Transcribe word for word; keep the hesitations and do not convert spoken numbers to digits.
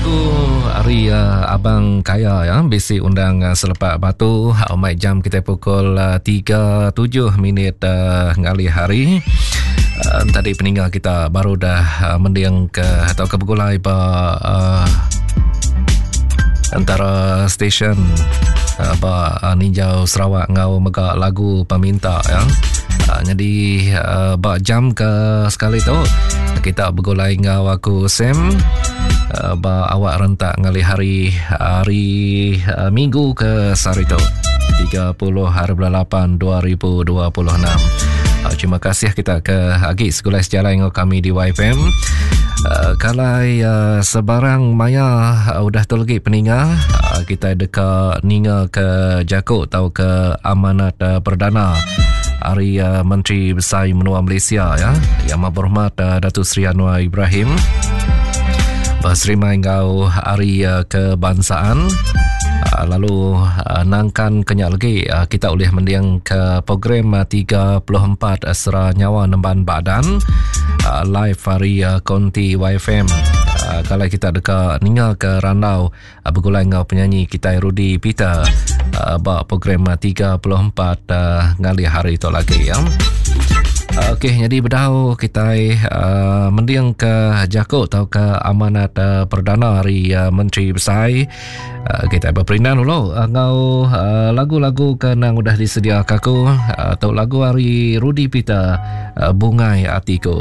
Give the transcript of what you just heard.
Lagu hari uh, Abang Kaya ya bisi undang uh, selepak batu uh, mai jam kita pukul uh, tiga tujuh minit uh, ngalih hari. Uh, tadi peninggal kita baru dah uh, mending ke atau ke begulai ba uh, antara stesen uh, ba uh, Ninjau Sarawak ngau mega lagu peminta ya. Uh, jadi uh, ba jam ke sekali tu kita begulai ngau aku Sam uh, ba awak rentak ngalih hari hari uh, Minggu ke sehari tu tiga puluh hari bulan lapan dua ribu dua puluh enam. Uh, terima kasih kita ke agi segulai sejalai ngau kami di Y F M. Uh, kalau uh, sebarang maya uh, udah tu lagi peninga uh, kita deka ninga ke Jakuk atau ke amanat uh, perdana hari uh, Menteri Besar Menua Malaysia ya yang Amat Berhormat uh, Datuk Seri Anwar Ibrahim berserima ngau hari uh, kebangsaan. Uh, lalu uh, nangkan kenyak lagi uh, kita boleh mendiang ke program uh, tiga puluh empat uh, Sera Nyawa Nemban Badan uh, live hari uh, Konti Y F M. Uh, kalau kita deka ninga ke randau uh, bergulai ngau penyanyi kita Rudy Peter uh, bak program uh, tiga puluh empat uh, ngalih hari itu lagi ya. Okey, jadi bedau kita uh, mendiang ke Jakuk atau ke amanat uh, perdana hari uh, Menteri Besar. Uh, kita berperindan dulu uh, ngau uh, lagu-lagu ke nang udah disediakan aku uh, atau lagu hari Rudy Peter uh, Bungai Atiku.